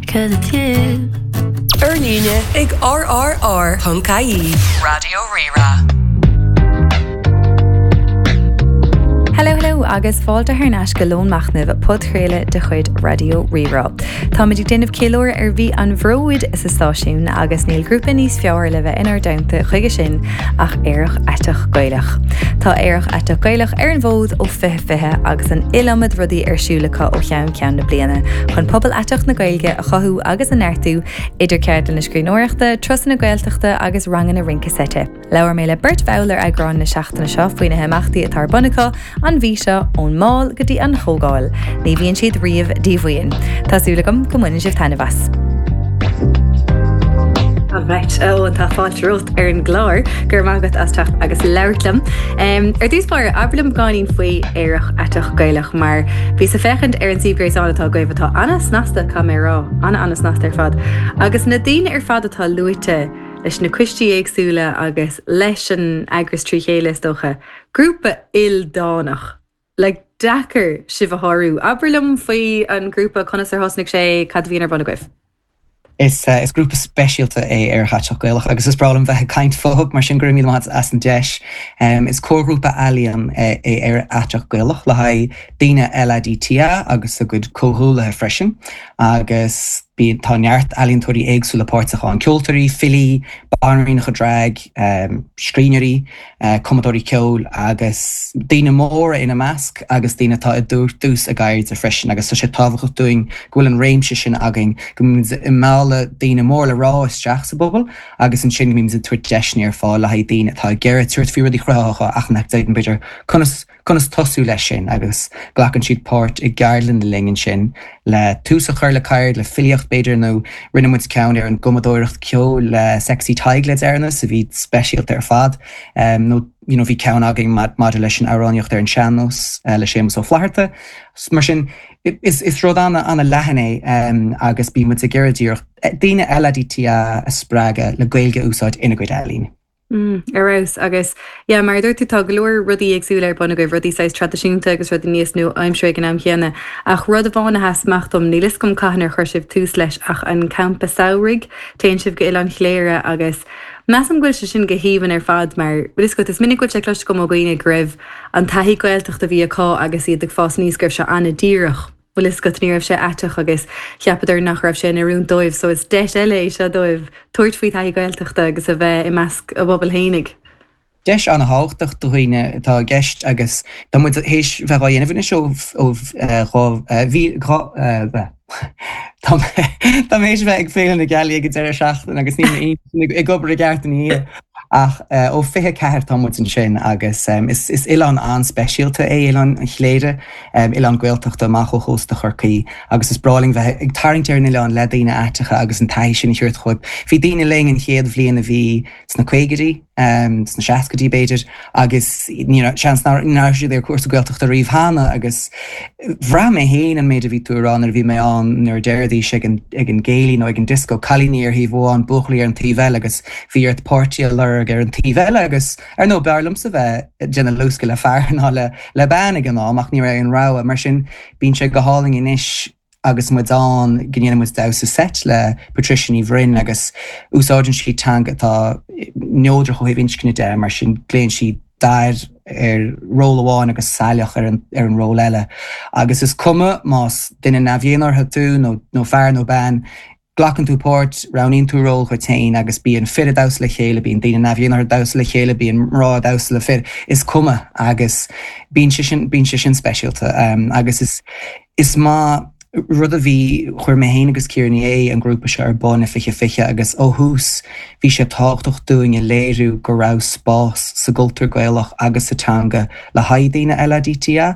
Cause it's you. Ar líne ag rrr.ie. Raidió Rí-Rá. Hello hello agus fáilte thar n-ais go Lón Machnaimh, podchraoladh de chuid Raidió Rí-Rá. Táimid ag déanamh ceiliúradh ar mhí an Bhróid sa stáisiún agus níl grúpa níos fearr le bheith inár dteannta chuige sin ach Aerach Aiteach Gaelach. Tá Aerach Aiteach Gaelach ar an bhfód ó 2020 agus an iliomad rudaí ar siúl acu ó cheann ceann na bliana chun pobal aiteach na Gaeilge a chothú agus a neartú, idir ceardlanna scríbhneoireachta, turasanna Gaeltachta agus ranganna rince seite. Labhair mé le beirt bhall ar eagrán na seachtaine seo faoi na himeachtaí atá ar bun acu an mhí seo, ón mbál go dtí an chomhdháil. Ní bhíonn siad riamh díomhaoin. Tá súil agam go mbaineann sibh taitneamh as. Alright, Eoin, tá fáilte romhat ar an gclár. Go raibh maith agat as teacht agus labhairt liom. Ar dtús báire, abair liom beagáinín faoi Aerach Aiteach Gaelach mar bhíos ag féachaint ar an suíomh gréasáin atá agaibh atá ana-snasta, caithfidh mé a rá, ana-ana-snasta ar fad. Agus na daoine ar fad atá luaite leis na coistí éagsúla agus leis an eagras trí chéile is dócha, grúpa ildánach. Like, deacair sibh a shárú. Abair liom faoi an grúpa, conas ar thosnaigh sé, cad a bhíonn ar bun agaibh? Is grúpa speisialta é Aerach Aiteach Gaelach agus is breá liom bheith ag caint fúthu, mar sin go raibh míle maith agat as an deis. Is comharghrúpa ealaíon é Aerach Aiteach Gaelach le haghaidh daoine LADTA agus a gcuid comhghuaillithe freisin agus bíonn, tá neart ealaíontóirí éagsúla páirteach ann, ceoltóirí, filí, banríonacha drag, scríbhneoirí. cumadóirí ceoil agus daoine móra ina measc agus daoine atá i dtús a gceirde freisin agus tá sé tábhachtach dúinn go bhfuil an réimse sin againn, go mbímid ag mealladh daoine mór le rá isteach sa bpobal agus ansin go mbímid ag tabhairt deiseanna ar fáil le haghaidh daoine atá ag iarraidh tabhairt faoi rudaí cruthaitheacha ach nach dtuigeann b'fhéidir conas conas tosú leis sin agus glacann siad páirt i gceardlanna linn ansin le tús a chur le ceird, le filíocht b'fhéidir nó rinne muid ceann ar an gcumadóireacht ceoil le Sexy Tadhg le deireanas a bhí speisialta ar fad nó you know bhí ceann againn maidir leis an amhránaíocht ar an sean-nós le Séamus Ó Flatharta. Mar sin is rud ana-leathan é agus bíonn muid ag iarraidh díreach daoine LADTA a spreagadh le Gaeilge a úsáid ina gcuid ealaíne. Mm, ar fheabhas. Agus, yeah, mar a dúirt tú, tá go leor rudaí éagsúla ar bun agaibh, rudaí saghas traidisiúnta agus rudaí níos nua-aimseartha ag an am chéanna. Ach rud amháin a sheas amach dom, níl 'fhios agam cathain ar chuir sibh tús leis, ach an campa samhraidh, téann sibh go Oileán Chléire agus measaim go bhfuil sé sin go haoibhinn ar fad mar, bhfuil 'fhios agat, is minic go bhfuil sé cloiste agam ó dhaoine go raibh an taithí Gaeltachta a bhí acu agus iad ag fás aníos, go raibh sé an-díreach. Bhfuil 'fhios agat, ní raibh sé aiteach agus cheapadar nach raibh sé in oiriúint dóibh so is deis eile é seo dóibh tabhairt faoi thaithí Gaeltachta agus a bheith i measc a bpobail fhéinig. Deis an-thábhachtach do dhaoine atá i gceist agus tá muid théis bheith á dhéanamh anois ó ó Tá mé théis bheith ag Féile na Gealaí ag an deireadh seachtaine agus níl m'intinn ag obair i gceart ina dhiaidh. Ach ó 24 tá muid ansin agus is oileán an-speisialta é Oileán Chléire, oileán Gaeltachta amach ó chósta Chorcaí agus is breá linn bheith ag tarraingt ar an oileán le daoine aiteacha agus an taithí sin a thabhairt dhóibh. Bhí daoine linn an chéad bhliain a bhí sna caogaidí, sna seascaidí b'fhéidir, agus seans nach raibh siad ar chúrsa Gaeltachta riamh cheana agus bhraith mé féin an méid a bhí tú a rá nuair a bhí mé ann nuair a deiridís ag an ag an gcéilí nó ag an dioscó, cailíní ar thaobh amháin, buachaillí ar an taobh eile agus bhí ort páirtí a lorg ar an taobh eile agus ar ndóigh b'fhearr liomsa bheith ag déanamh luascadh le fear ná le le bean ag an am ach ní raibh aon rogha. Mar sin bíonn sé go hálainn anois agus muid ann go ndéanann muid damhsa seit le Patricia Ní Bhroin agus úsáideann sí teanga atá neodrach ó thaobh inscne de, mar sin glaonn sí dair ar ról amháin agus saileach ar an ar an ról eile. Agus is cuma más duine neamh-dhénártha tú nó nó fear nó bean, glacann tú páirt, roghnaíonn tú ról dhuit féin agus bíonn fir ag damhsa le chéile, bíonn daoine neamh-dhénártha ag damhsa le chéile, bíonn mná ag damhsa le fir, is cuma agus bíonn sé sin, bíonn sé sin speisialta agus is, is maith rud a bhí, chuir mé féin agus Ciara Ní É an grúpa seo ar bun i 2020 agus ó thús bhí sé tábhachtach dúinn a léiriú go raibh spás sa gcultúr Gaelach agus sa teanga le haghaidh daoine LADTA.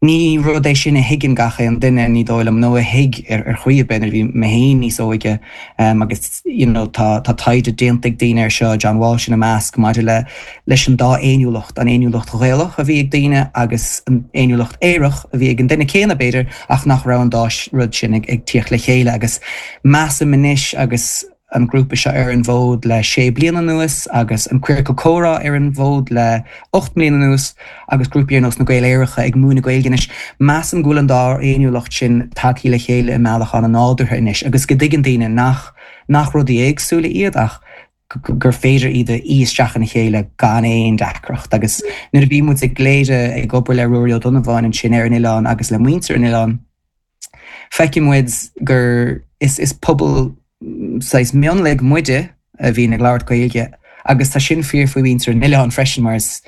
Ní rud é sin a thuigeann gach aon duine, ní dóigh liom, nó a thuig ar chaoi ar bith nuair a bhí mé féin níos óige agus you know tá tá taighde déanta ag daoine ar seo, John Walsh ina measc, maidir le leis an dá fhéiniúlacht, an fhéiniúlacht Ghaelach a bhí ag daoine agus an fhéiniúlacht aerach a bhí ag an duine céanna b'fhéidir ach nach raibh an dá rud sin ag ag tíocht le chéile agus measaim anois agus. an grúpa seo ar an bhfód le sé bliana anuas agus an Queercal Comhrá ar an bhfód le 8 mbliana anuas agus grúpaí ar nós na Gaeil Aeracha ag múineadh Gaeilge anois, measaim go bhfuil an dá fhéiniúlacht sin tagtha le chéile i mbealach an-nádúrtha anois agus go dtuigeann daoine nach nach rudaí éagsúla iad ach gur féidir iad a fhí isteach ina chéile gan aon deacracht. Agus nuair a bhí muid i gCléire ag obair le Ruairí Ó Donnabháin ansin ar an oileán agus le muintir an oileáin, feiceann muid gur is is pobal saghas mionlaigh muide a bhíonn ag labhairt Gaeilge agus tá sin fíor faoi mhuintir an oileáin freisin mar is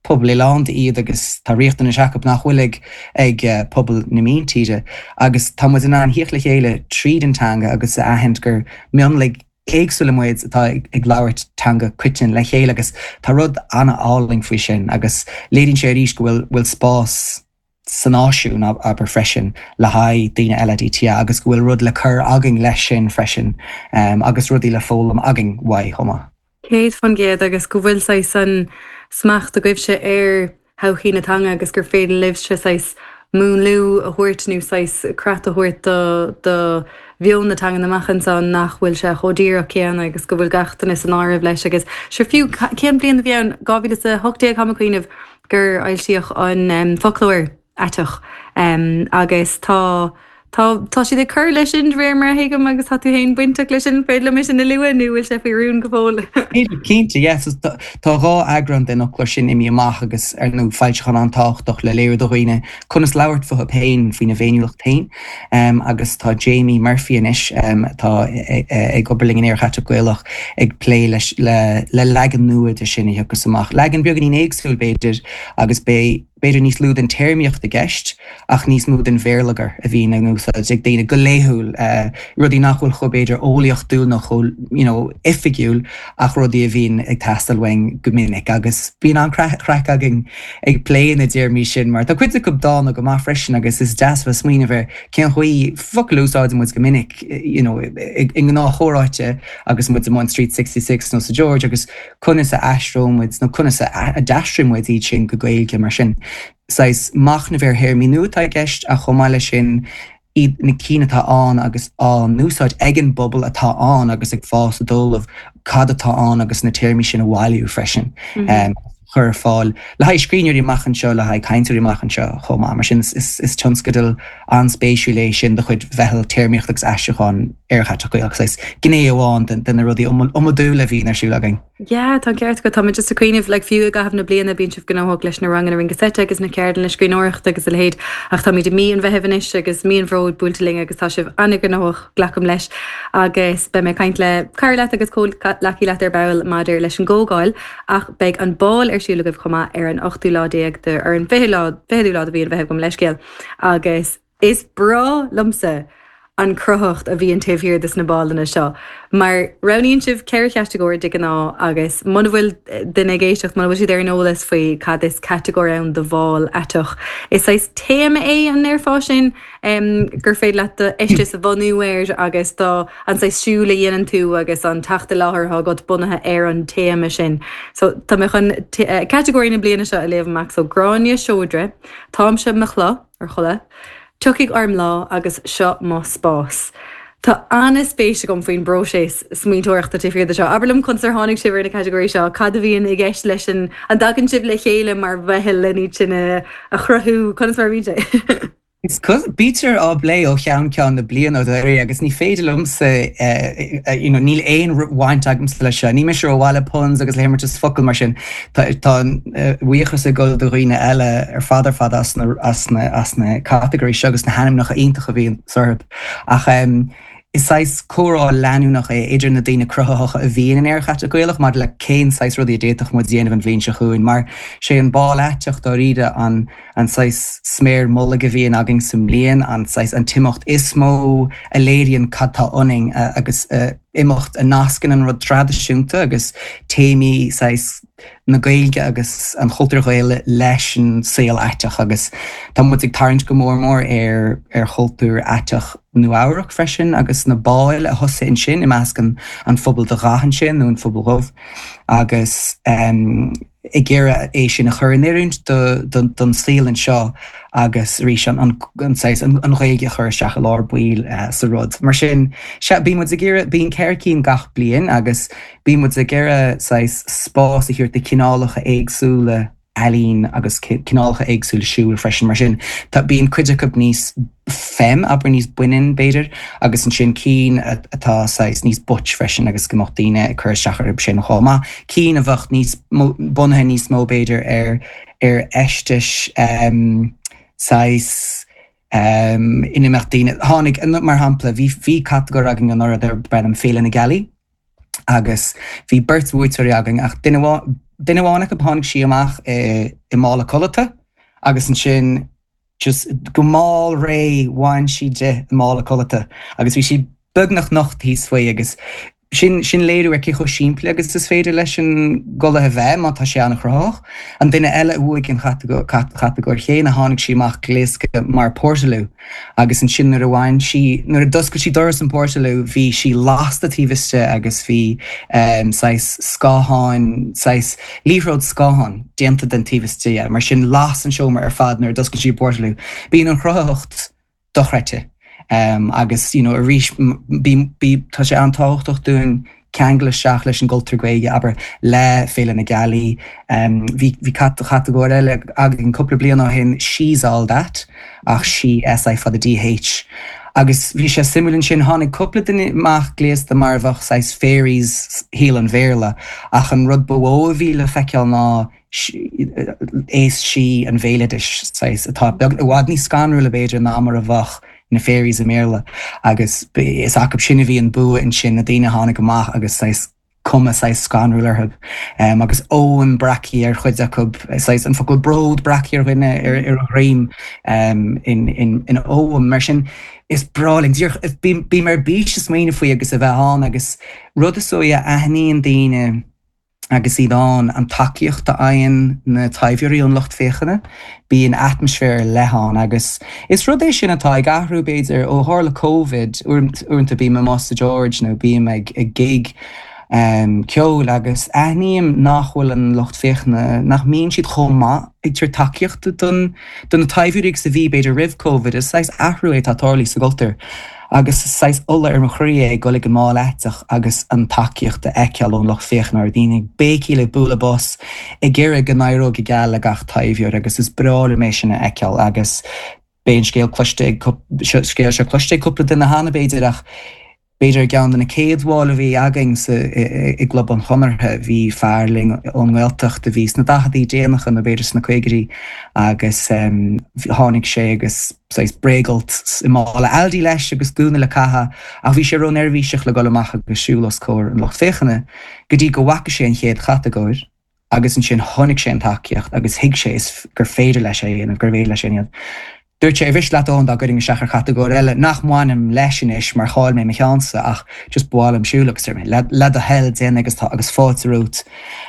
pobal oileánda iad agus tá riachtanais acu nach bhfuil ag ag pobal na míntíre agus tá muid in ann thíocht le chéile tríd an teanga agus a aithint gur mionlaigh éagsúla muid atá ag labhairt teanga coiteann le chéile agus tá rud an-álainn faoi sin agus léiríonn sé arís go bhfuil bhfuil spás sa náisiún, abair, freisin le haghaidh daoine LADTA agus go bhfuil rud le cur againn leis sin freisin agus rudaí le foghlaim againn uaidh chomh maith. 100% agus go bhfuil saghas an smacht agaibhse ar thodhchaí na teanga agus gur féidir libhse saghas múnlú a thabhairt nó saghas creat a thabhairt do do mheon na teangan amach anseo nach bhfuil sé chomh díreach céanna agus go bhfuil gach duine san áireamh leis agus sure fiú cén bhliain a bhí ann 2018 táim ag cuimhneamh gur fhoilsíodh an foclóir aiteach agus tá tá tá siad ag cur leis sin de réir mar a thuigim agus tá tú féin bainteach leis sin, féidir liom é sin a lua nó bhfuil sé faoi rún go fóill? Cinnte, yes. Tá 2 eagrán den fhoclóir sin imithe amach agus ar ndóigh foilseachán an-tábhachtach le léiriú do dhaoine conas labhairt fúthu féin, faoina bhféiniúlacht féin. Agus tá Jamie Murphy anois, atá ag obair linn in Aerach Aiteach Gaelach, ag plé leis le leagan nua de sin a thiocfas amach. Leagan beagáinín éagsúil, b'fhéidir, agus beidh b'fhéidir níos lú den téarmaíocht i gceist ach níos mó den bhéarlagair a bhíonn in úsáid ag daoine go laethúil, rudaí nach bhfuil chomh b'fhéidir eolaíochtúil nó chomh you know oifigiúil ach rudaí a bhíonn ag teastáil uainn go minic agus bíonn an-chraic againn ag plé na dtéarmaí sin mar tá cuid acu dána go maith freisin agus is deas bheith ag smaoineamh ar cén chaoi focail a úsáideann muid go minic you know i ngnáthchomhráite agus muid amuigh in Street 66 nó sa George agus conas a aistreoidh muid nó conas a d'aistrigh muid iad sin go Gaeilge mar sin. Saghas machnamh ar théarmaí nua atá i gceist ach chomh maith leis sin iad na cinn atá ann agus á n-úsáid ag an bpobal atá ann agus ag fás i dtólamh cad atá ann agus na téarmaí sin a bhailiú freisin a chur ar fáil le haghaidh scríbhneoirí amach anseo, le haghaidh cainteoirí amach anseo chomh maith. Mar sin is tionscadal an-spéisiúil é sin de chuid Mheitheal Téarmaíochta agus Aistriúcháin Aerach Aiteach Gaelach, saghas gné amháin de na rudaí iomadúla a bhíonn ar siúl againn. Yeah, tá an ceart agat. Tá mé just ag cuimhneamh, like, fiú i gcaitheamh na bliana bíonn sibh gnóthach leis na ranganna rince seite agus na ceardlanna scríbhneoireachta agus a leithéid ach táimid i mí an Mheithimh anois agus mí an Bhróid buailte linn agus tá sibh an-ghnóthach, glacaim leis. Agus beidh mé ag caint le cara leat agus comhghleacaí leat ar ball maidir leis an gcomhdháil ach beidh an bál ar siúl agaibh chomh maith ar an ochtú lá déag de, ar an bhfichiú lá, fichiú lá de mhí an Mheithimh gabh mo leithscéal agus. Is breá liomsa an cruthaitheacht a bhíonn taobh thiar de na bálanna seo, mar roghnaíonn sibh 4 chatagóir de ghnáth agus muna bhfuil duine ag éisteacht, muna bhfuil siad ar an eolas faoi cad is catagóir ann do bhál aiteach, is saghas téama é, an ndéarfá sin, gur féidir leat do fheisteas a bhunú air agus do, an saghas siúil a dhéanann tú agus an teacht i láthair atá agat bunaithe ar an téama sin. So tá mé chun catagóirí na bliana seo a léamh amach, so Gráinne Seoidre, Táimse mo chloch. ar chodladh. Tiocfaidh orm lá agus seo mo spás. Tá an-spéis agam faoin bpróiseas smaointeoireachta taobh thiar de seo. Abair liom conas ar tháinig sibh ar na catagóirí seo, cad a bhíonn i gceist leis an, an dtagann sibh le chéile mar mheitheal len iad sin a chruthú, conas mar a bhíonn sé? Bítear á bplé ó cheann ceann na bliana dáiríre agus ní féidir liomsa you know níl aon bhaint agamsa leis seo. Ní mise rómhaith le puns agus le himeartas focal mar sin. Tá an buíochas ag dul do dhaoine eile ar fad ar fad as na as na as na catagóirí seo agus na hainmneacha iontacha a bhíonn orthu. Ach is saghas comhrá leanúnach é idir na daoine cruthaitheacha a bhíonn in Aerach Aiteach Gaelach maidir le cén saghas rudaí a d'fhéadfadh muid a dhéanamh an bhliain seo chugainn mar sé an bál aiteach dáiríre an an saghas sméar mullaigh a bhíonn againn sa mbliain, an saghas an t-imeacht is mó a léiríonn cad tá ionainn agus imeacht a nascann an rud traidisiúnta agus téamaí saghas na Gaeilge agus an chultúir Ghaelaigh leis an saol aiteach agus tá muid ag tarraingt go mór mór ar ar chultúr aiteach. Nua Eabhrac freisin agus na báil a thosaigh ansin i measc an an phobal de dhath ansin nó an phobal dhubh agus ag iarraidh é sin a chur in oiriúint don saol anseo agus arís an an saghas an Ghaeilge a chur isteach i lár baill sa rud. Mar sin, sea, bíonn muid ag iarraidh, bíonn 4 cinn gach bliain agus bíonn muid ag iarraidh saghas spás a thabhairt do chineálacha éagsúla ealaín agus cineálacha éagsúla siúil freisin. Mar sin, tá, bíonn cuid acu níos femme, abair, níos baineann, b'fhéidir, agus ansin cinn atá saghas níos butch freisin agus go mbeadh daoine ag cur isteach orthu sin chomh maith. Cinn a bheadh níos mó, bunaithe níos mó, b'fhéidir, ar, ar fheistis saghas ina mbeadh daoine, tháinig, mar shampla, bhí, bhí catagóir againn anuraidh darb ainm Féile na Gealaí, agus bhí beirt bhuaiteoirí againn ach duine duine amháin acu tháinig sí amach i i mála codlata agus ansin just go mall réidh bhain sí di an mála codlata agus bhí sí beagnach nocht thíos faoi agus sin sin léiriú ar cé chomh simplí agus is féidir leis an gculaith a bheith má tá sé an-chruthaitheach. An duine eile a bhuaigh an chatagóir chéanna tháinig sí amach gléasta mar portaloo. Agus ansin nuair a bhain sí, nuair a d'oscail sí doras an portaloo bhí sí lasta taobh istigh agus bhí saghas scátháin, saghas liathróid scáthán déanta den taobh istigh dhe. Mar sin las an seomra ar fad nuair a d'oscail sí an portaloo. Bíonn an chruthaitheacht dochreidte agus you know arís bí, bí, tá sé an-tábhachtach dúinn ceangal isteach leis an gcultúr Gaeilge, abair, le Féile na Gealaí. Bhí bhí catagóir eile againn cúpla bliain ó shin, She's All That, ach sí, S I fada D H. Agus bhí sé suimiúil ansin, tháinig cúpla duine amach gléasta mar a bheadh saghas fairies shaol an Bhéarla, ach an rud ba mhó a bhí le feiceáil ná aos sí an bhéaloidis, saghas, atá beag, i bhfad níos scanrúla b'fhéidir ná mar a bheadh na fairies i mBéarla agus is acu sin a bhí an bua ansin, na daoine a tháinig amach agus saghas cuma saghas scanrúil orthu agus Ogham breactha ar chuid acu, saghas an focal bród breactha ar dhuine ar a dhroim in in Ogham. Mar sin is breá linn, díreach, bím ar bís ag smaoineamh faoi agus a bheith ann agus rud is dóigh a aithníonn daoine, agus iad ann, an tacaíocht a fhaigheann na taibheoirí ón lucht féachana, bíonn atmaisféar ar leith ann agus is rud é sin atá ag athrú, b'fhéidir, ó tharla Covid, uaireanta bím amuigh sa George nó bím ag gig ceoil agus aithním nach bhfuil an lucht féachana, nach mbíonn siad chomh maith ag tabhairt tacaíochta don do na taibheoirí agus a bhí, b'fhéidir, roimh Covid. Is saghas athrú é atá tarlaithe sa gcultúr agus is saghas ola ar mo chroí é ag dul ag an mbál aiteach agus an tacaíocht a fheiceáil ón lucht féachana, daoine ag béicíl, ag bualadh bos, ag iarraidh go n-éireodh go geal le gach taibheoir agus is breá liom é sin a fheiceáil agus beidh an scéal cloiste ag, scéal seo cloiste ag cúpla duine cheana, b'fhéidir, ach B'fhéidir i gceann de na céad bháil a bhí againn sa i gClub an Chonartha bhí fear linn ón nGaeltacht a bhí sna daicheadaí déanacha nó b'fhéidir sna caogaidí agus tháinig sé agus saghas bréagfholt i mála Aldi leis agus gúna le caitheamh ach bhí sé ró-neirbhíseach le dul amach agus siúl os comhair an lucht féachana go dtí go bhfaca sé an chéad chatagóir. agus ansin chonaic sé an tacaíocht agus thuig sé is gur féidir leis é a dhéanamh, gurbh fhéidir leis é a dhéanamh. Dúirt sé, ar mhiste leat Eoin dá gcuirfinn isteach ar chatagóir eile, nach mbainim leis anois mar chaill mé mo cheannsa ach just ba mhaith liom siúl agus dúirt mé, le, le do thoil, déan é agus tá, agus fáilte romhat.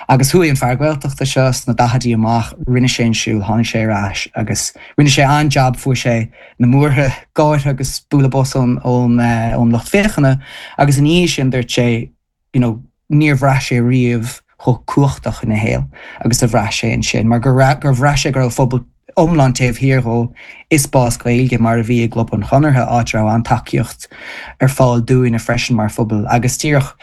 Agus chuaigh an fear Gaeltachta seo sna daichidí amach, rinne sé an siúl, tháinig sé ar ais agus rinne sé an-jab, fuair sé na múrtha gáire agus bualadh bos ón, ón, ón lucht féachana agus ina dhiaidh sin dúirt sé, you know, níor bhraith sé riamh chomh cumhachtach ina shaol agus a bhraith sé ansin, mar gur gur bhraith sé go raibh phobal iomlán taobh thiar dhó i spás Gaeilge mar a bhí i gClub an Chonartha, áit a raibh an-tacaíocht ar fáil dúinne freisin mar phobal agus díreach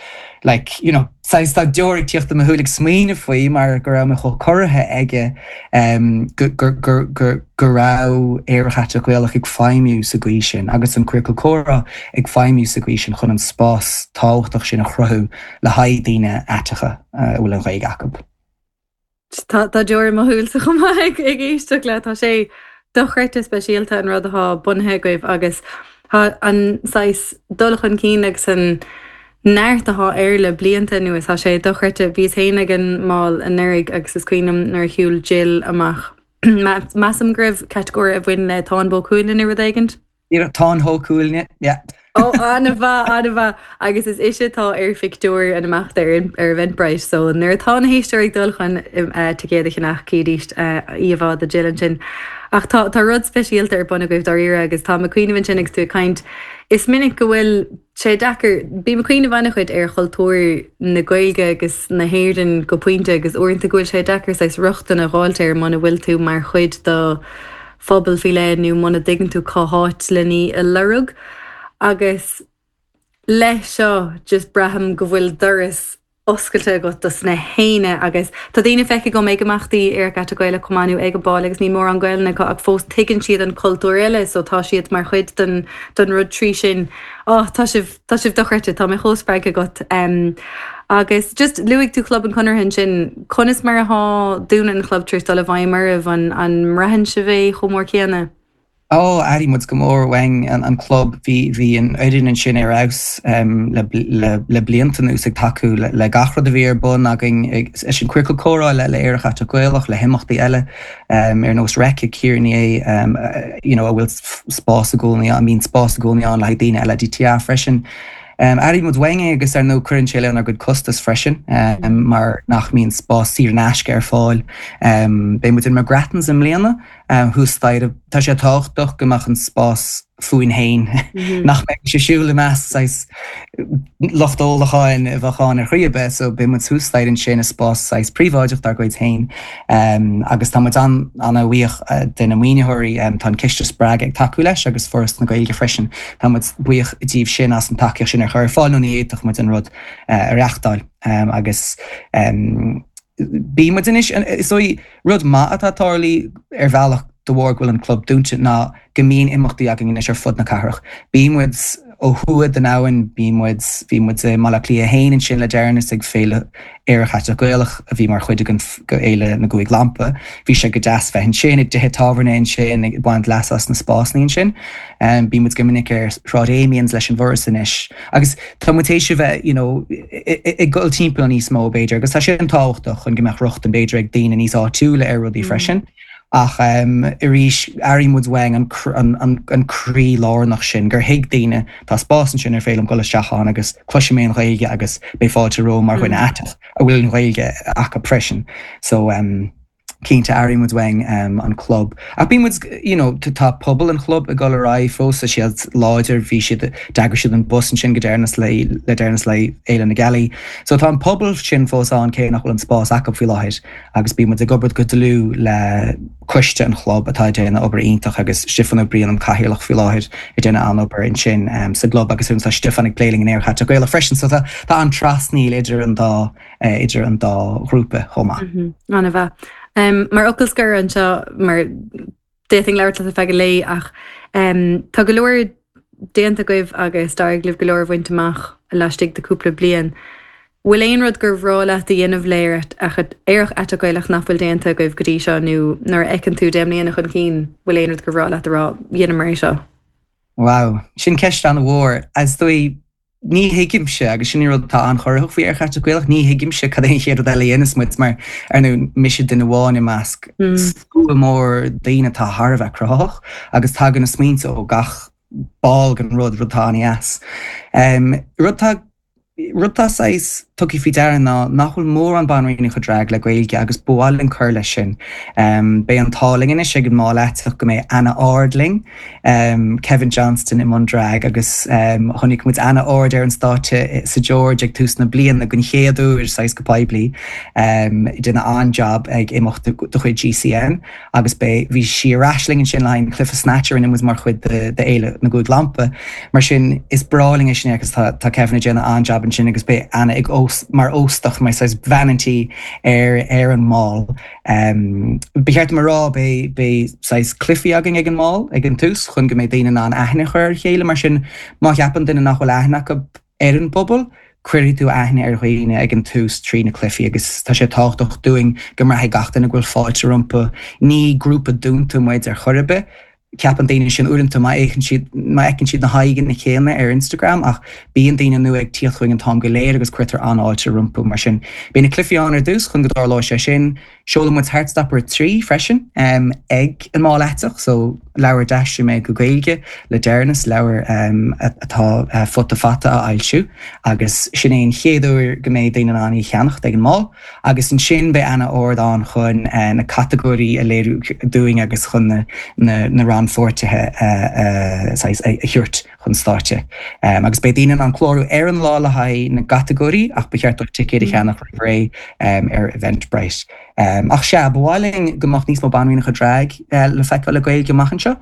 like, you know, saghas tá deora ag tíocht i mo shúil ag smaoineamh faoi mar go raibh mé chomh corraithe aige um, go, go, go, go, go raibh Aerach Aiteach Gaelach ag feidhmiú sa gcaoi sin agus an Ciorcal Comhrá ag feidhmiú sa gcaoi sin chun an spás tábhachtach sin a chruthú le haghaidh daoine aiteacha a bhfuil an Ghaeilge acu. Tá deora i mo shúilse chomh maith ag éisteacht leat. Tá sé dochreidte speisialta an rud atá bunaithe agaibh agus tá an saghas dul chun cinn agus an neart atá air le blianta anuas, tá sé dochreidte. Bhíos féin ag an mbál anuraidh agus is cuimhin liom nuair a shiúil Jill amach. Measaim go raibh catagóir a bhain le Táin Bó Cuailgne nó rud éigint. Táin Shó Cuailgne, yeah. Ó, an-mhaith, an-mhaith. Agus is ise atá ar phictiúr an imeachta ar ar Eventbrite, so nuair atá na héisteoirí ag dul chun ticéad a cheannach, cídís íomhá de Jill ansin. Ach tá tá rud speisialta ar bun agaibh dáiríre agus táim ag cuimhneamh ansin agus tú ag caint, is minic go bhfuil sé deacair, bím ag cuimhneamh an-chuid ar chultúr na Gaeilge agus na hÉireann go pointe agus uaireanta go bhfuil sé deacair saghas rochtain a dh'fháilt air muna bhfuil tú mar chuid de phobal faoi leith nó muna dtuigeann tú cá háit len í a lorg. Agus leis seo just braithim go bhfuil doras oscailte agat dos na héinne agus tá daoine feicthe agam ag imeachtaí Aerach Aiteach Gaelach chomh maith nó ag an bál agus níl mórán Gaelainne acu ach fós tuigeann siad an cultúr eile so tá siad mar chuid den den rud trí sin. Oh tá sibh tá sibh dochreidte, tá mé chomh spreagtha agat. Um, agus just luaigh tú Club an Chonartha ansin, conas mar atá dúnadh an chlub tar éis dul i bhfeidhm oraibh, an an mbraitheann sibh é chomh mór céanna? Ó, airím muid go mór uainn an club. Bhí, bhí an fhoireann ansin ar fheabhas le, le, le blianta anuas ag tacú le, le gach rud a bhí ar bun againn, leis an Ciorcal Comhrá, le, le Aerach Aiteach Gaelach, le himeachtaí eile ar nós Reic ag Kearney, you know, a bhfuil spás i gcónaí, a mbíonn spás i gcónaí ann le haghaidh daoine LADTA freisin. Airím muid uainn é agus ar ndóigh cuireann sé lenár gcuid costas freisin mar nach mbíonn spás saor in aisce ar fáil. Beidh muid in McGrattan's i mbliana thuas staighre. Tá sé tábhachtach go mbeadh an spás fúinn féin, nach mbeidh sé siúl i measc saghas lucht ólacháin a bheadh ann ar chaoi ar bith. So beidh muid thuas staighre ansin i spás saghas príobháideach dár gcuid féin. Agus tá muid an-bhuíoch de na maoinitheoirí. Tá an Ciste Spreagadh ag tacú leis agus Foras na Gaeilge freisin. Tá muid buíoch díobh sin as an tacaíocht sin a chur ar fáil nó ní fhéadfadh muid an rud a reachtáil. Agus bíonn muid anois, is dóigh, rud maith atá tarlaithe ar bhealach de bharr go bhfuil an club dúnta ná go mbíonn imeachtaí againn anois ar fud na cathrach. Bíonn muid ó thuaidh den abhainn, bíonn muid, bhí muid i mBaile Átha Cliath 1 ansin le deireanas ag Féile Aerach Aiteach Gaelach a bhí mar chuid de Fhéile na gCúig Lampa. Bhí sé go deas bheith ansin, i dtithe tábhairne ansin, ag baint leasa as na spásanna ansin. Bíonn muid go minic ar Shráid Amiens leis an bhForas anois agus tá muid théis a bheith, you know, ag dul timpeall níos mó b'fhéidir agus tá sé an-tábhachtach chun go mbeadh rochtain b'fhéidir ag daoine níos áitiúla ar rudaí freisin. Ach arís, airím muid uainn an an croí lárnach sin, gur thuig daoine, tá spás ansin ar féidir liom dul isteach ann agus cloisfidh mé an Ghaeilge agus beidh fáilte romham mar dhuine aiteach a bhfuil an Ghaeilge acu freisin. So. Cinnte, airím muid uainn an club. Ach bíonn muid, you know, tá pobal an chlub ag dul ar aghaidh fós, tá siad láidir, bhí siad, d'eagraigh siad an bus ansin go deireanas le, le deireanas le Fhéile na Gealaí. So tá an pobal sin fós ann cé nach bhfuil an spás acu faoi láthair agus bíonn muid ag obair go dlúth le coiste an chlub atá ag déanamh obair iontach agus Stiofán Ó Briain an cathaoirleach faoi láthair ag déanamh an-obair ansin sa gclub agus tá Stiofán ag plé linn in Aerach Aiteach Gaelach freisin so tá tá an-trasnaíl idir an dá idir an dá ghrúpa chomh maith. An-mhaith. Mar fhocal scoir anseo, mar d'fhéadfainn labhairt leat ar feadh an lae ach tá go leor déanta agaibh agus d'éirigh libh go leor a bhaint amach laistigh de cúpla bliain. Bhfuil aon rud gur bhreá leat a dhéanamh le Aerach Aiteach Gaelach nach bhfuil déanta agaibh go dtí seo nó nuair a fheiceann tú 10 mbliana chun cinn, bhfuil aon rud gur bhreá leat a rá, dheineamar é seo? Wow, sin ceist an-mhór. Is dóigh Ní thuigimse, agus sin an rud atá an-chorraitheach faoi Aerach Aiteach Gaelach, ní thuigimse cad é an chéad rud eile a dhéanfas muid mar, ar ndóigh, mise duine amháin i measc slua mór daoine atá thar a bheith cruthaitheach agus tagann na smaointe ó gach ball den rud, rud atá an-dheas. Rud atá, rud atá saghas tugtha faoi deara ná nach bhfuil mórán banríonacha drag le Gaeilge agus ba mhaith linn cur leis sin. Beidh an t-ádh linn anois ag an mBál Aiteach go mbeidh Anna Ard linn. Kevin Johnston i mbun drag agus chonaic muid Anna Ard ar an stáitse sa George ag tús na bliana den chéad uair saghas go poiblí. Déanamh an-jab ag imeacht de chuid GCN agus beidh, bhí sí ar ais linn ansin le haghaidh an cluiche Snatch a rinne muid mar chuid de Fhéile na gCúig Lampa. Mar sin is breá linn é sin agus tá tá Kevin ag déanamh an-jab ansin agus beidh Anna ag mar óstach, mar saghas bhean an tí ar ar an mbál. Ba cheart dom a rá, beidh saghas cluichí againn ag an mbál ag an tús chun go mbeidh daoine in ann aithne a chur ar a chéile. Mar sin, má cheapann duine nach bhfuil aithne acu ar an bpobal, cuirfidh tú aithne ar dhaoine ag an tús trí na cluichí agus tá sé tábhachtach dúinn go mbraithfidh gach duine go bhfuil fáilte rompu. Ní grúpa dúnta muid ar chor ar bith. Ceapann daoine sin uaireanta má fhéachann siad, má fheiceann siad na haghaidheanna céanna ar Instagram ach bíonn daoine nua ag tíocht chugainn an t-am go léir agus cuirtear an-fháilte rompu. Mar sin, beidh na cluichí ann ar dtús chun go dtarlóidh sé sin. Seolann muid Heartstopper 3 freisin ag an mBál Aiteach so. leabhar a d'aistrigh mé go Gaeilge le deireanas, leabhar atá Futa Fata a fhoilsiú agus sin é an chéad uair go mbeidh daoine in ann í a cheannacht ag an mbál agus ansin beidh Anna Ard ann chun na catagóirí a léiriú dúinn agus chun na rannpháirtithe a thabhairt chun stáitse. Agus beidh daoine in ann clárú ar an lá le haghaidh na gcatagóirí ach ba cheart dóibh ticéid a cheannach roimh ré ar Eventbrite. Ach sea, ba mhaith linn go mbeadh níos mó banríonacha drag le feiceáil le Gaeilge amach anseo.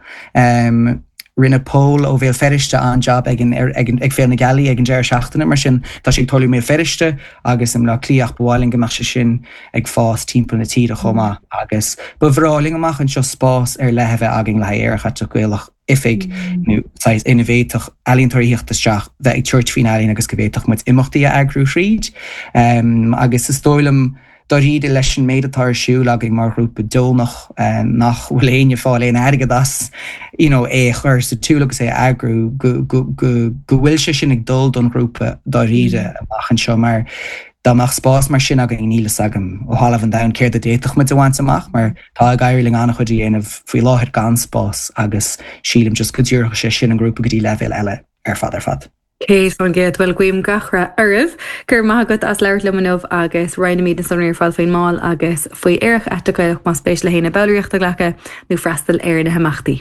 Rinne Pól ó Bhéal Feirste an-jab ag ag Féile na Gealaí ag an deireadh seachtaine, mar sin tá sé ag tarlú i mBéal Feirste agus i mBleá Cliath ach ba mhaith linn go mbeadh sé sin ag fás timpeall na tíre chomh maith. Agus ba bhreá linn amach anseo spás ar leith a bheith againn le haghaidh Aerach Aiteach Gaelach. oifig nó saghas ina bhféadfadh ealaíontóirí a theacht isteach, bheith ag tabhairt faoin ealaín agus go bhféadfadh muid imeachtaí a eagrú thríd. Agus is dóigh liom, dáiríre, leis an méid atá ar siúl againn mar ghrúpa deonach, nach bhfuil éinne ag fáil aon airgead as, you know, é a chur sa tsiúl agus é a eagrú, go, go, go, go bhfuil sé sin ag dul don ghrúpa dáiríre amach anseo mar dá mbeadh spás mar sin againn níl fhios agam ó thalamh an domhain céard a d'fhéadfadh muid a bhaint amach mar Tá ag éirí linn an-chuid a dhéanamh faoi láthair gan spás agus sílim just go dtabharfadh sé sin an grúpa go dtí leibhéal eile ar fad ar fad. 100%. Bhuel, guím gach rath oraibh. Go raibh maith agat as labhairt liom inniu agus roinnfimid na sonraí ar fad faoin mbál agus faoi Aerach Aiteach Gaelach más spéis le héinne ballraíocht a ghlacadh nó freastal ar na himeachtaí.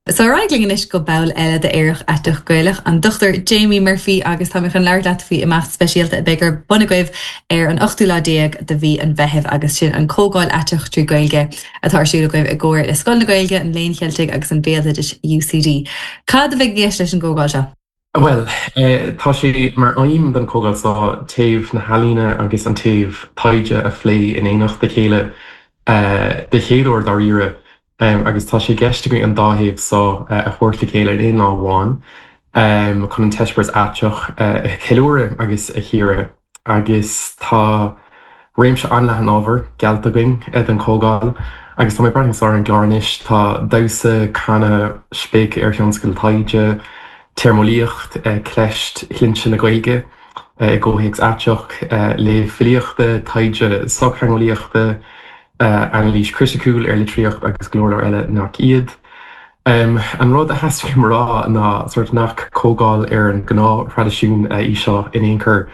So ar aghaidh linn anois go ball eile d'Aerach Aiteach Gaelach, an Dr Jamie Murphy agus tá mé chun labhairt leat faoi imeacht speisialta a beidh ar bun agaibh ar an ochtú lá déag de mhí an Mheithimh agus sin an Comhdháil Aiteach trí Gaeilge atá ar siúl agaibh i gcomhar le Scoil na Gaeilge, an Léinn Cheiltigh agus an Bhéaloidis UCD. Cad a bheidh i gceist leis an gcomhdháil seo? Bhuel, tá sé mar aidhm don chomhdháil seo taobh na healaíne agus an taobh taighde a phlé in éineacht le chéile de chéad uair dáiríre agus tá sé i gceist againn an dá thaobh seo a thabhairt le chéile in aon lá amháin chun an t-eispéireas aiteach a cheiliúradh agus a chíoradh. Agus tá réimse an-leathan ábhar geallta againn don chomhdháil agus tá mé ag breathnú ar an gclár anois, tá damhsa, canadh, spléachadh ar thionscadail taighde, téarmeolaíocht, ceist shloinnte na Gaeilge i gcomhthéacs aiteach, léamh filíochta, taighde sochtheangeolaíochta, anailís chriticiúil ar litríocht agus go leor leor eile nach iad. An rud a theastaigh uaim a rá ná sórt nach comhdháil ar an ngnáth-thraidisiún í seo in aon chor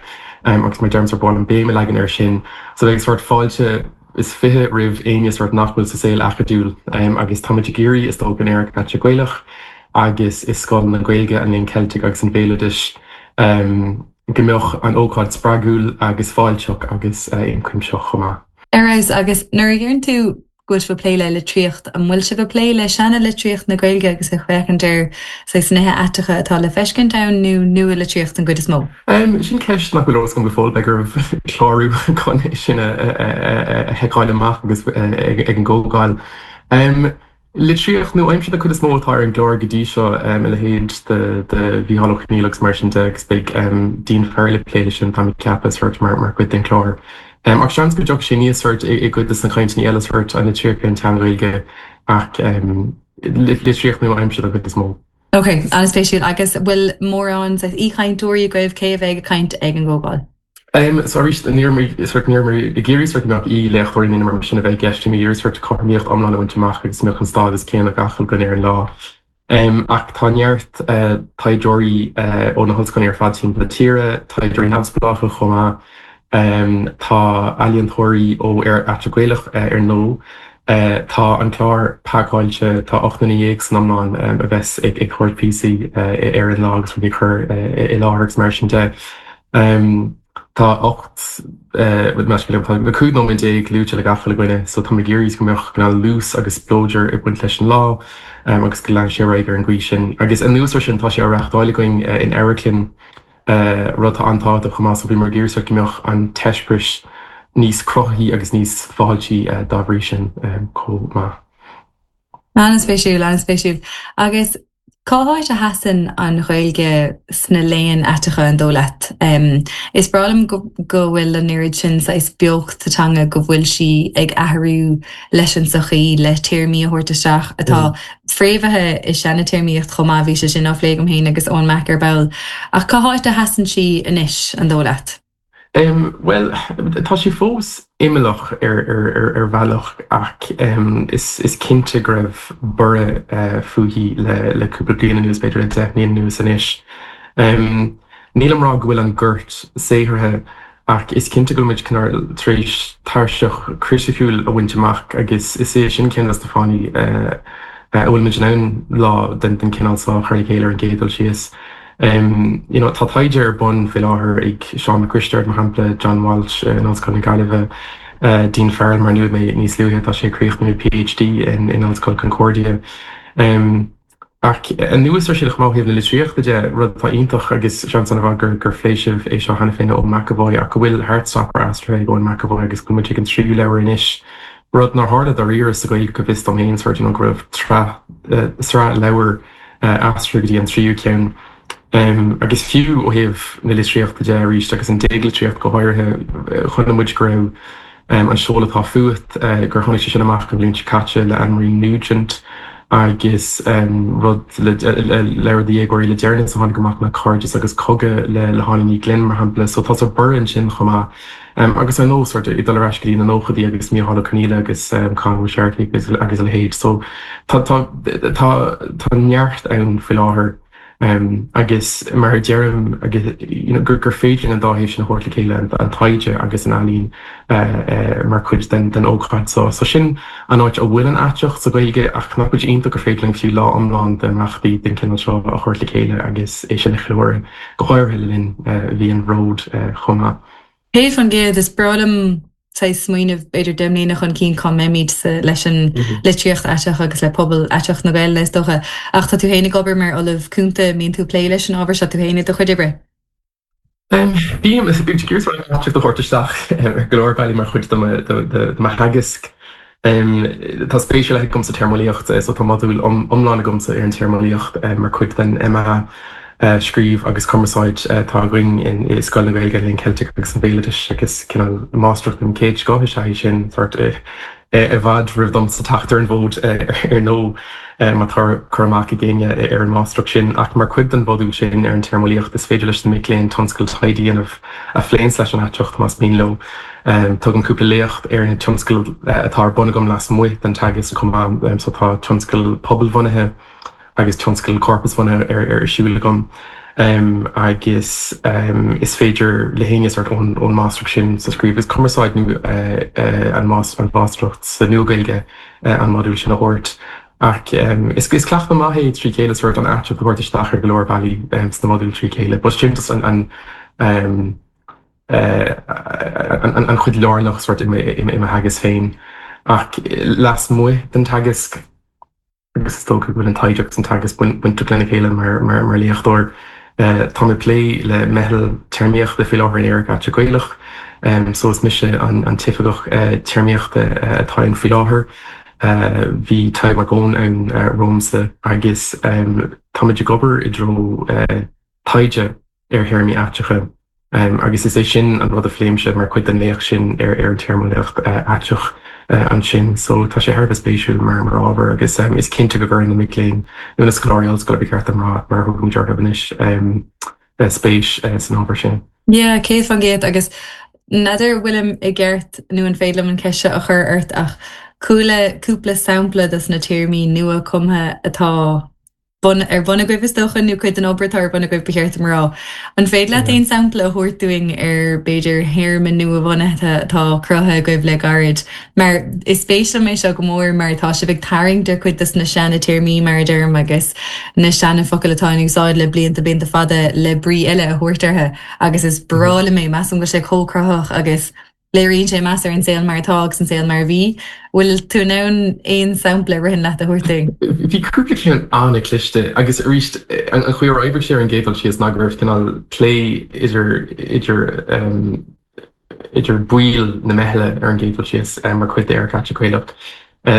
agus mar deirim sórt ba mhaith liom béim a leagan air sin. So beidh sórt fáilte is 20 roimh éinne sórt nach bhfuil sa saol acadúil agus táimid ag iarraidh is dócha in Aerach Aiteach Gaelach agus i Scoil na Gaeilge, an Léinn Cheiltigh agus an Bhéaloidis go mbeadh an ócáid spreagúil agus fáilteach agus ionchuimsitheach chomh maith. Ar fheabhas, agus nuair a dheireann tú go bhfuil sibh ag plé le litríocht, an bhfuil sibh ag plé le seana-litríocht na Gaeilge agus ag féachaint ar saghas nithe aiteacha atá le feiscint ann nó nua-litríocht den gcuid is mó? Sin ceist nach bhfuil eolas agam go fóill, beidh oraibh clárú chun é sin a sheiceáil amach agus ag an gcomhdháil. Litríocht nua-aimseartha den chuid is mó atá ar an gclár go dtí seo, a leithéid de Mhícheál Ó Conghaile agus mar sin de, agus beidh Dean Farrell ag plé leis sin, táim ag ceapadh, sórt mar chuid den chlár. Ach seans go dtiocfaidh sé aníos sórt i gcuid de na cainteanna eile, sórt an litríocht ar an tSean-Ghaeilge, ach litríocht nua-aimseartha den chuid is mó. Ok, an-spéisiúil. Agus bhfuil mórán saghas aoichainteoirí agaibh? Cé a bheidh ag caint ag an gcomhdháil? So arís, ní raibh mé sórt, ní raibh mé ag iarraidh sórt go mbeadh aoi-léachtóirí nó mar sin a bheith i gceist, bhí mé ag iarraidh sórt cothromaíocht iomlán a bhaint amach agus go mbeadh an stádas céanna ag gach uile dhuine ar an lá. Ach tá neart taighdeoirí ó na hollscoileanna ar fad timpeall na tíre, taighdeoirí neamhspleácha chomh maith, tá ealaíontóirí ó Aerach Aiteach Gaelach ar ndóigh, tá an clár pacáilte, tá 18 nduine san iomlán a bheas ag tabhairt píosaí ar an lá agus rudaí a chur i láthair agus mar sin de. Tá 18, tá 15 nóiméad luaite le gach uile dhuine so táim ag iarraidh go mbeadh cineál luas agus spleodar ag baint leis an lá agus go leanfaidh sé ar aghaidh ar an gcaoi sin. Agus anuas air sin tá sé á reachtáil againn in amharclann, rud atá an-tábhachtach chomh maith so bhíomar ag iarraidh sórt go mbeadh an t-eispéireas níos cruthaithí agus níos fáiltí dá bhrí sin chomh maith. An-spéisiúil, an-spéisiúil. Agus Cá háit a sheasann an Ghaeilge sna léann aiteacha, an dóigh leat? Is breá liom go bhfuil an oiread sin saghas beocht sa teanga, go bhfuil sí ag athrú leis an tsochaí, le téarmaí a thabhairt isteach atá fréamhaithe i seana-téarmaíocht chomh maith, bhí sé sin á phlé agam féin agus Eoin Mack ar ball. Ach cá háit a sheasann sí anois, an dóigh leat? Bhuel, tá sé fós imeallach ar bhealach ach is cinnte go raibh borradh fúithi le cúpla bliain anuas, b'fhéidir le 10 mbliana anuas anois. Nílim ag rá go bhfuil an gort saothraithe ach is cinnte go bhfuil muid cineál tar éis tairseach chriticiúil a bhaint amach agus is é sin ceann de na fáthanna a bhfuil muid in ann lá den chineál seo a chur le chéile ar an gcéad dul síos. You know, tá taighde ar bun faoi láthair ag Seán Mac Risteaird, mar shampla, John Walsh in Ollscoil na Gaillimhe, Dean Farrell, mar a luaigh mé níos luaithe, tá sé ag críochnú PhD in Ollscoil Concordia. Ach anuas ar sin, chomh maith ó thaobh na litríochta de, rud atá iontach agus seans an-mhaith gur gur phléigh sibh é seo cheana féin le Eoin McEvoy ach go bhfuil Heartstopper aistrithe ag Eoin McEvoy agus go bhfuil muid ag an tríú leabhar anois, rud nár tharla dáiríre sa Ghaeilge go bhfios dom féin, sort you know, go raibh tsraith sraith leabhar aistrithe go dtí an tríú ceann. Agus fiú ó thaobh na litríochta de arís, agus an déaglitríocht go háirithe, chonaic muid go raibh An Seol Atá Fút, gur tháinig sé sin amach an bhliain seo caite le Anne-Marie Nugent agus rud le leabhar do dhéagóirí le deireanas a tháinig amach ná Cairdeas agus Cogadh le hÁine Ní Ghlinn, mar shampla. So tá sort borradh ansin chomh maith. Agus ar ndóigh, sort ag dul ar ais go dtí na nóchaidí agus Mícheál Ó Conghaile agus Conn Ó Searcaigh agus agus a leithéid. So tá tá tá tá neart ann faoi láthair agus mar a deirim agus you know gur gur féidir an dá thaobh sin a thabhairt le chéile, an an taighde agus an ealaín mar chuid den den ócáid seo. So sin an áit a bhfuil an aiteacht sa Ghaeilge ach nach bhfuil sé iontach gur féidir linn fiú lá iomlán d'imeachtaí den chineál seo a thabhairt le chéile agus é sin a cheiliúradh, go háirithe le linn mhí an Bhróid chomh maith. 100%, is breá liom saghas smaoineamh b'fhéidir 10 mbliana chun cinn cá mbeimid leis an litríocht aiteach agus le pobal aiteach na Gaelainne is dócha. Ach tá tú féin ag obair mar Ollamh Cúnta, an mbíonn tú ag plé leis an ábhar seo tú féin i do chuid oibre? Bím, bím ag iarraidh an aiteacht a thabhairt isteach ar go leor bealaí mar chuid de mo theagasc. Tá spéis ar leith agam sa téarmeolaíocht so tá modúl iomlán agamsa ar an téarmeolaíocht mar chuid den MA Scríobh agus Cumarsáid atá againn i Scoil na Gaeilge, an Léinn Cheiltigh agus an Bhéaloidis agus cineál máistreacht den chéad scoth is ea é sin, sort i bhfad roimh domsa teacht ar an bhfód ar ndóigh má tá cur amach ag éinne ar an máistreacht sin. Ach mar chuid den mhodúl sin ar an téarmeolaíocht is féidir leis na mic léinn tionscal taighde a dhéanamh a phléanns leis an aiteacht más mian leo. Tugaim cúpla léacht ar na tionscail atá ar bun agam lasmuigh den teagasc chomh maith, so tá tionscal pobalbhunaithe agus tionscal corpasbhunaithe ar siúl agam agus is féidir le héinne sort ón máistreacht sin sa scríobh agus cumarsáid nó an mháistreacht sa Nua-Ghaeilge an modúl sin a thabhairt. Ach is cleachtadh maith é trí chéile sort an aiteacht a thabhairt isteach ar go leor bealaí sna modúil trí chéile. But sin just an an chuid lárnach sort i mo theagasc féin. Ach lasmuigh den teagasc, agus is dócha go bhfuil an taighde agus an teagasc bainteach lena chéile mar léachtóir, táim ag plé le meitheal téarmaíochta faoi láthair in Éiric Aiteach Gaelach. So is mise an t-oifigeach téarmaíochta atá ann faoi láthair. Bhí Tadhg Mac Eoin ann romhamsa agus táimid ag obair i dtreo taighde ar théarmaí aiteacha agus is é sin an rud a phléimse mar chuid den léacht sin ar an téarmeolaíocht aiteach ansin. So tá sé thar a bheith spéisiúil mar mar ábhar agus is cinnte go gcuireann na mic léinn nó na scoláirí ollscoile ba cheart dom rá mar a thugaimid orthu anois spéis san ábhar sin. Yeah, 100% agus n'fheadar bhfuilim i gceart nó an féidir liom an cheist seo a chur ort ach chuala cúpla sampla dos na téarmaí nua cumtha atá bun, ar bun agaibh is dócha, nó cuid den obair atá ar bun agaibh ba cheart dom a rá. An féidir leat aon sampla a thabhairt dúinn ar, b'fhéidir, théarma nua-bhunaithe atá cruthaithe agaibh le gairid? Mar is spéis liom é seo go mór mar tá sibh ag tarraingt ar chuid dos na seana-téarmaí, mar a deirim, agus na seana-fhocail atá in úsáid le blianta, blianta fada le brí eile a thabhairt orthu agus is breá liom é, measaim go bhfuil sé chomh cruthaitheach agus Léiríonn sé meas ar an saol mar atá agus an saol mar a bhí. Bhfuil tú in ann aon sampla a ritheann leat a thabhairt dúinn? Bhí cúpla ceann an-chliste agus arís an chaoi ar oibrigh sé ar an gcéad dul síos ná go raibh cineál plé idir idir idir baill na meithle ar an gcéad dul síos mar chuid d'Éiric Aiteach Gaelach.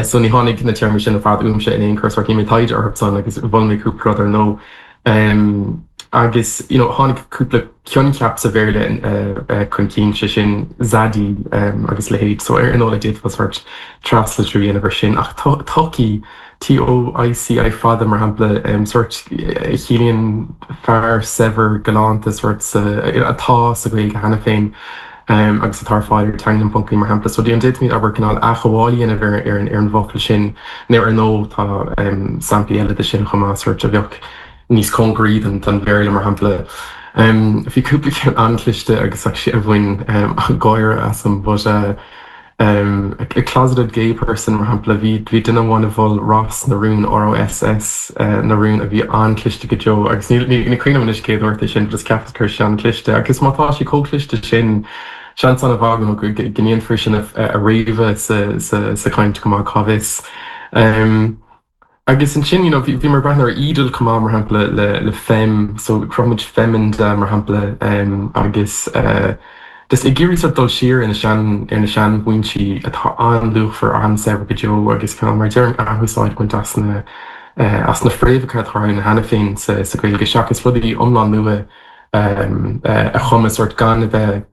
So ní tháinig na téarmaí sin ar fad uaimse in aon chor, sort dhein mé taighde orthu san agus mhol mé cúpla rud ar ndóigh. Agus you know tháinig cúpla coincheap sa Bhéarla chun cinn, sé sin zaddy agus a leithéid, so ar ndóigh d'fhéadfá sórt traslitriú a dhéanamh ar sin ach toicí, T-O-I-C-I fada mar shampla, sórt a chiallaíonn fear saibhir galánta sórt atá sa Ghaeilge cheana féin agus atá ar fáil ar teanglann ponc ie mar shampla. So d'fhéadfaimid abair cineál athghabháil a dhéanamh ar an bhfocal sin nó ar ndóigh tá samplaí eile de sin chomh maith sórt a bheadh níos cóngaraí don Bhéarla, mar shampla. Bhí cúpla ceann an-chliste agus actually a bhain gáire asam but a closeted gay person, mar shampla, bhí bhí duine amháin a mhol Ros na Rún, R-O-S-S na Rún, a bhí an-chliste go deo agus ní ní cuimhin liom anois cé a dúirt é sin but just cheapas go raibh sé an-chliste agus má tá sé chomh cliste sin, seans an-mhaith go go ndéanfar sin a fhréamhadh sa sa sa chaint go maith, cá bhfios. Agus ansin, you know, bhí bhíomar ag breathnú ar Edel chomh maith, mar shampla, le le fem, so chruthaigh muid femenda, mar shampla, agus just ag iarraidh sort dul siar ar na sean ar na seanfhoinsí atá an-luachmhar, an-saibhir go deo agus cineál mar a deirim athúsáid a bhaint as na as na fréamhacha atá ann cheana féin sa sa Ghaeilge seachas rudaí iomlán nua a chumadh sort gan a bheith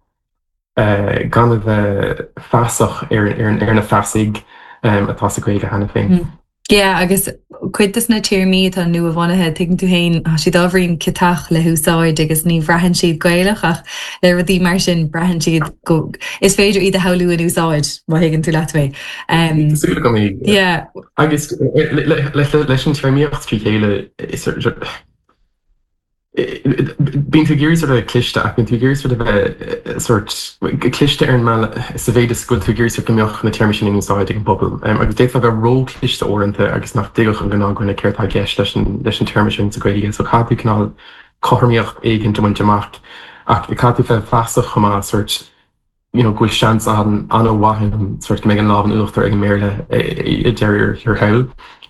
gan a bheith feasach ar na feasaigh atá sa Ghaeilge cheana féin. Yeah, agus cuid de na téarmaí atá nua-bhunaithe, tuigeann tú féin, tá siad ábhairín ciotach le húsáid agus ní bhraitheann siad Gaelach ach le rudaí mar sin braitheann siad go, is féidir iad a shamhlú in úsáid, má thuigeann tú leat mé. Tá súil agam é. Yeah. Agus leis an téarmaíocht trí chéile, is Bíonn tú ag iarraidh sort of bheith cliste ach bíonn tú ag iarraidh sort of bheith sort cliste ar an mbealach sa mhéid is go bhfuil tú ag iarraidh sort go mbeadh na téarmaí sin in úsáid ag an bpobal. Agus d'fhéadfá bheith ró-chliste uaireanta agus nach dtuigfeadh an gnáthdhuine céard atá i gceist leis an leis an téarma sin sa Ghaeilge. So caithfidh tú cineál cothromaíocht éigin a bhaint amach ach caithfidh tú bheith feasach chomh maith sort you know, go bhfuil seans an-mhaith ann sort go mbeidh an lámh in uachtar ag an mBéarla i deireadh thiar thall.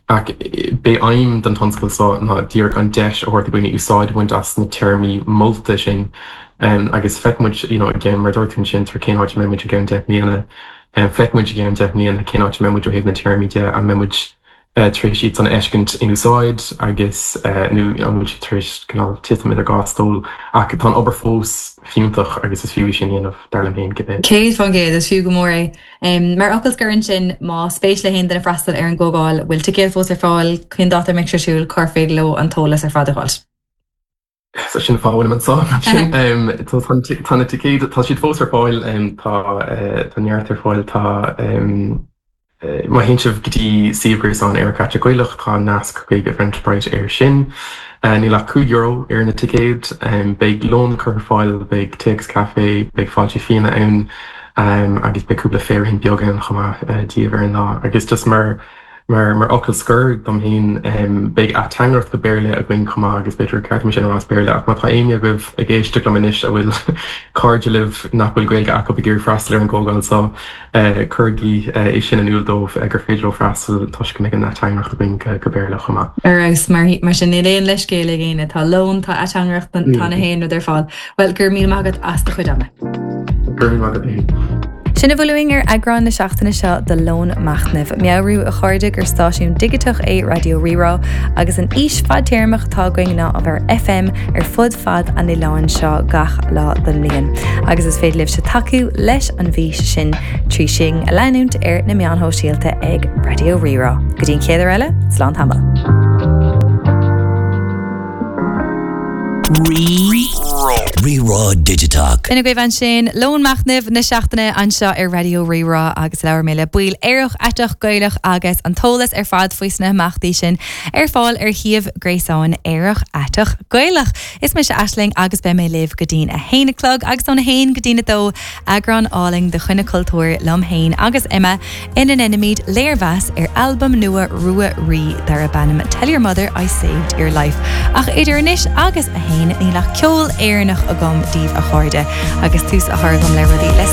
Ach b'é aidhm don tionscadal seo ná díreach an deis a thabhairt do dhaoine úsáid a bhaint as na téarmaí molta sin agus feicfidh muid, you know, i gceann, mar a dúirt tú ansin, sort cén áit a mbeidh muid i gceann 10 mbliana, feicfidh muid i gceann 10 mbliana cén áit a mbeidh muid ó thaobh na téarmaí de, an mbeidh muid tar éis iad san a fheiscint in úsáid agus nó an bhfuil siad tar éis cineál titim idir dhá stól. Ach tá an obair fós fiúntach agus is fiú é sin a dhéanamh, dar liom féin, cibé. 100%, is fiú go mór é. Mar fhocal scoir ansin, má spéis le haon duine freastal ar an gcomhdháil, bhfuil ticéid fós ar fáil, cén dáta a mbeidh sé ar siúl, cár féidir leo an t-eolas ar fad a fháil? So sin an fáth a bhfuilim anseo. Tá na ticéid, tá siad fós ar fáil, tá neart ar fáil, tá má théann sibh go dtí suíomh gréasáin Aerach Aiteach Gaelach tá nasc chuig Eventbrite air sin. Níl ach €5 ar na ticéid. Beidh lón curtha ar fáil, beidh tae agus caife, beidh fáilte fíona ann agus beidh cúpla féirín beag ann chomh maith daoibh ar an lá. Agus just mar Mar fhocal scoir dom féin, beidh ateangaireacht go Béarla againn chomh maith agus b'fhéidir gur ceart dom é sin a rá as Béarla ach má tá éinne agaibh ag éisteacht liom anois a bhfuil cairde libh nach bhfuil Gaeilge acu ag iarraidh freastal ar an gcomhdháil seo, cuirigí é sin in iúl dóibh gur féidir leo freastal toisc go mbeidh an ateangaireacht againn go Béarla chomh maith. Ar fheabhas, mar sin níl aon leithscéal ag éinne, tá lón, tá ateangaireacht, tá na haon rud ar fáil. Bhuel, go raibh míle maith agat as do chuid ama. Go raibh míle maith agat féin. Sin a bhfuil uainn ar eagrán na seachtaine seo de Lón Machnaimh. Meabhrú, a chairde, gur stáisiún digiteach é Raidió Rí-Rá agus an fhís fadtéarmach atá againn ná a bheith ar FM ar fud fad an oileáin seo gach lá den mbliain. Agus is féidir libhse tacú leis an bhfís sin trí sinn a leanúint ar na meáin shóisialta ag Raidió Rí-Rá. Go dtí an chéad uair eile, slán tamall. Rí-Rá Digiteach. B'in agaibh ansin Lón Machnaimh na seachtaine anseo ar Raidió Rí-Rá agus labhair mé le baill Aerach Aiteach Gaelach agus an t-eolas ar fad faoi sna himeachtaí sin ar fáil ar shuíomh gréasáin Aerach Aiteach Gaelach. Is mise Aisling agus beidh mé libh go dtí'n 1 a chlog agus ón 1 go dtí'n 2 eagrán álainn de Choinne Cultúir liom féin agus Emma ina ndéanaimid léirmheas ar albam nua Rua Rí darb ainm Tell Your Mother I Saved Your Life. Ach idir anois agus a haon, níl ach ceol Éireannach agam daoibh a chairde, agus tús á chur agam le rudaí le.